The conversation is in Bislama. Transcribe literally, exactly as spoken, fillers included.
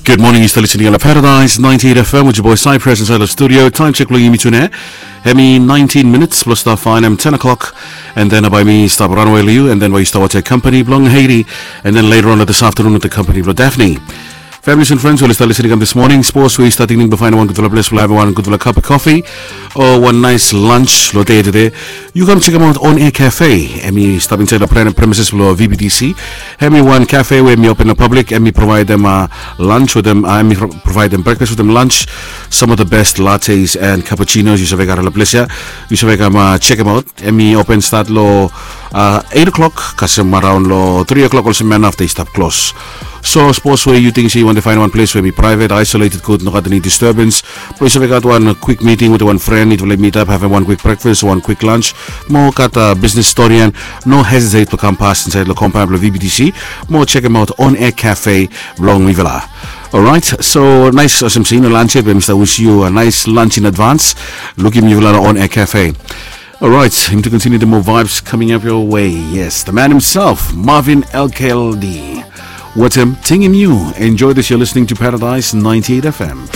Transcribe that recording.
Good morning, yu stap listening long Paradise ninety-eight F M with your boy Cypress inside the studio. Time check long yumi tune. Hemi nineteen minutes plus stap fine, em ten o'clock. And then by me stop runway you, and then by you start with a company belong Haiti, and then later on this afternoon with the company belong Daphne. Families and friends, we start listening up this morning. Sports, we start thinking behind one good place, we'll have one good cup of coffee or one nice lunch. Lo day today, you come check them out on Air Cafe. Emi stop inside the planet premises below V B T C. Hemi one cafe where me open the public, and me provide them uh, lunch with them, uh, me pro- provide them breakfast with them lunch. Some of the best lattes and cappuccinos you should make out of the place here. You should make them uh, check them out. Emi open start lo uh, eight o'clock, kasem around lo three o'clock also man after stop close. So suppose where you think you want to find one place where be private, isolated, good, no got any disturbance. But you should make out one quick meeting with one friend, it will meet up, have one quick breakfast, one quick lunch. More got a business story and no hesitate to come past inside the compound of V B T C. More check them out on Air Cafe, Long Rivella. All right, so nice, awesome scene, lunch it, Mister Wish you a nice lunch in advance. Look him you on Air Cafe. All right, him to continue the more vibes coming up your way. Yes, the man himself, Marvin L K L D. What him, ting him you. Enjoy this, you're listening to Paradise ninety-eight F M.